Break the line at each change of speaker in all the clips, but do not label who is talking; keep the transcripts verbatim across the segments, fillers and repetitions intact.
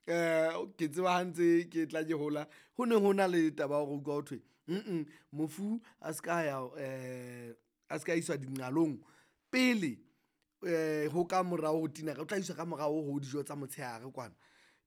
Um ke tseba ha ntse ke tla ke hola ho ne ho na le taba ya hore utlwa ho thwe mm mofu a ska ya um a ska iswa dinqalong pele um ho ka morao ho tinara, o tla iswa ka morao ho dijo tsa motshehare kwana.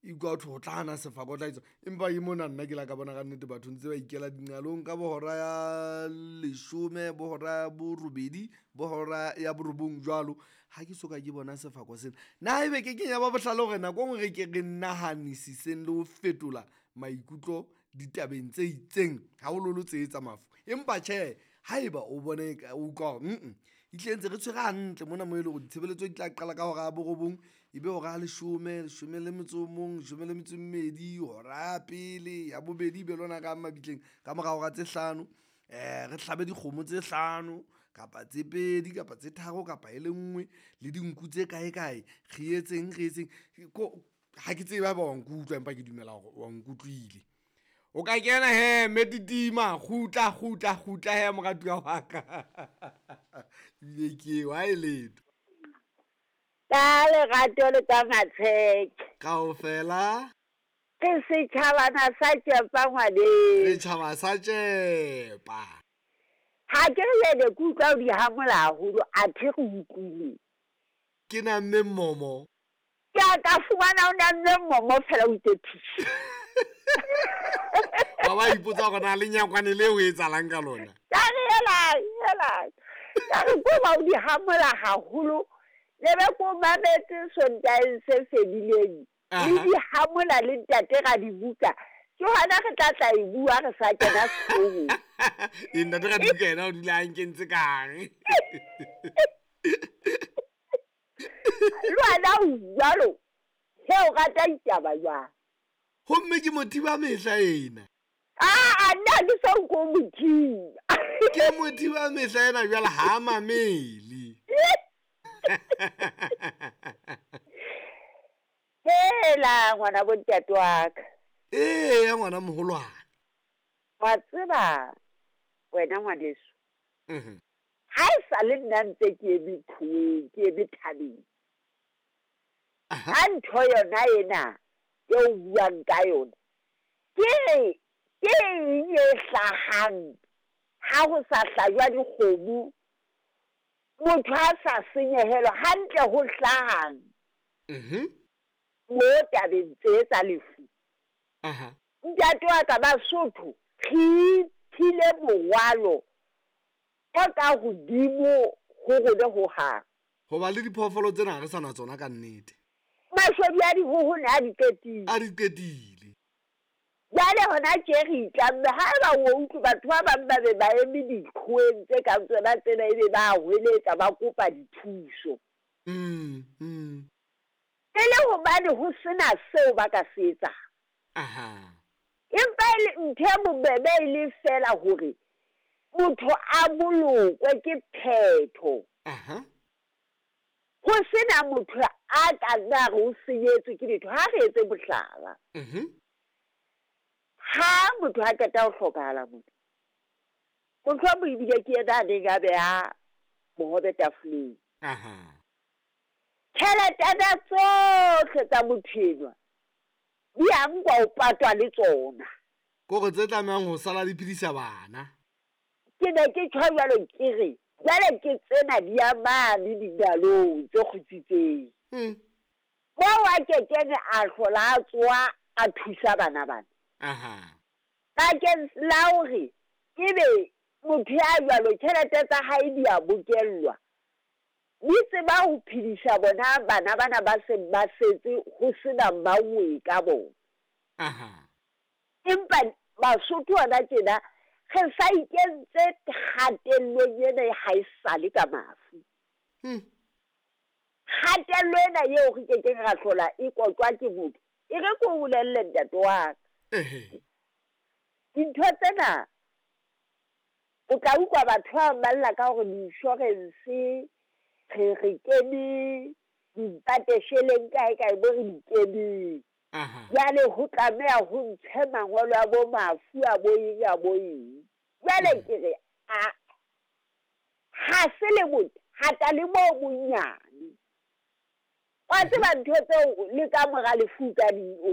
E utlwa ho thwe ho tla na sefako, o tla etswa empa ke mona nna ke la ka bona kannete batho ntse ba ikela dinqalong ka bo hora ya leshome, bo hora ya borobedi, bo hora ya borobong jwalo. Ha ke soka ke bona sefako sena. Na ebe ke kenya ba bohlale hore nako e nngwe re ke re nahanisiseng le ho fetola maikutlo ditabeng tse itseng, haholoholo tse tsa mafu. Empa tjhe, haeba o bone o utlwa hore mm ehlile ntse re tshwere hantle mona moo eleng hore ditshebeletso di tla qala ka hora ya borobong, ebe hora ya leshome, leshome le metso o mong, leshome le metso e mmedi, hora ya pele ya bobedi ebe le hona re yang mabitleng ka mora hora tse hlano. Re hlabe dikgomo tse hlano kapa tse pedi kapa tse tharo kapa e le nngwe le dinku tse kae kae. Re etseng re etseng ko ha ke tsebe haeba wa nkutlwa, empa ke dumela hore wa nkutlwile. O ka kena hee mme Titima kgutla kgutla kgutla hee moratuwa wa ka. Ebile ke eo ha e letho.
Ka lerato le ka matsheke.
Kaofela
Re setjhabana sa tšepa ngwaneng.
Setjhaba sa tšepa.
Ha ke re jwale ke utlwa o di hamola haholo, athe re utlwile.
Ke namme mmomo.
Ke a ka fumana o namme mmomo fela o itse phishi.
Ba ba ipotsa hore na lenyakwane leo ho etsahalang ka lona.
Ka re hela, hela. Ka re ko ba o di hamola haholo. Le be ko mametse Sontaheng se fedileng. Le di hamola le ntate ra di buka. Ke hona re tla tla e bua re sa kena sehloohong.
E ntate ra dibuka yena o dula a nkentse ka hare.
Le wena o jwalo. He o rata ditaba jwang?
Homme ke mothiba mehla ena.
Ah, nna ke so nko mothiba.
Ke mothiba mehla ena jwale ha mamele.
Hela ngwana bo ntate wa ka.
Ee, ngwana moholwane.
Wa tseba wena ngwaneso.
Mhm.
Ha e sa le nna ntse ke eme qhoweng, ke eme thabeng.
Aha.
Ha ntho yona ena e o buang ka yona, ke ke eng e hlahang ha ho sa hlajwa dikgomo, motho a sa senyehelwa hantle ho hlahang?
Mhm.
Mo tabeng tse tsa lefu.
Aha.
Ntate wa ka Basotho, re iphile morwalo o ka hodimo ho rona hohang.
Hoba le diphoofolo tsena ha re sa na tsona ka nnete.
Mashodu a dihoho ne a di qetile.
A di qetile.
Jwale hona tje re itlamme, haeba o utlwe batho ba bang ba be ba eme diqhoweng tse kang tsona tsena ebe ba hweletsa ba kopa dithuso.
Mm, mm.
E le hobane ho sena seo ba ka se etsang.
Aha.
Empa e le ntho e bobebe e le feela hore motho a bolokwe ke phetho.
Aha.
Ho sena motho a ka nna re o senyetswe ke letho, ha re etse mohlala.
Mhm.
Ha motho a qeta ho hlokahala motho, mohlomong ebile ke yena a neng a beha bohobe tafoleng.
Aha.
Tjheletana tsohle tsa motho enwa di a nkwa ho patwa le tsona.
Kore tse tlamehang ho sala di phedisa bana.
Ke ne ke tjho jwalo ke re, jwale ke tsena di ya mane dinalong tse kgutsitseng.
Mm.
Moo a kekeng a hlola a tsoha a thusa bana bana.
Aha.
Bakeng la hore ebe motho ya jwalo tjhelete tsa hae di a bokellwa, di tseba ho phedisa bona bana bana ba seng ba setse ho sena mauwe ka bona.
Aha.
Empa Basotho hona tjena re sa ikentse kgatellong ena ha e sale ka mafu.
Hmm.
Kgatello ena eo re kekeng ra hlola e kotjwa ke motho, e re ke o bolelle ntate wa ka.
Ehe.
Dintho tsena o tla utlwa batho ba bang ba lla ka hore di-insurance re re kene dipatesheleng kae kae bo re di keneng.
Aha.
Jwale ho tlameha ho ntshe mangolo a bo mafu a bo eng a bo eng. Jwale ke re a ha se le bothata le bo bonyane. Wa tseba ntho tseo le ka mora lefu ka di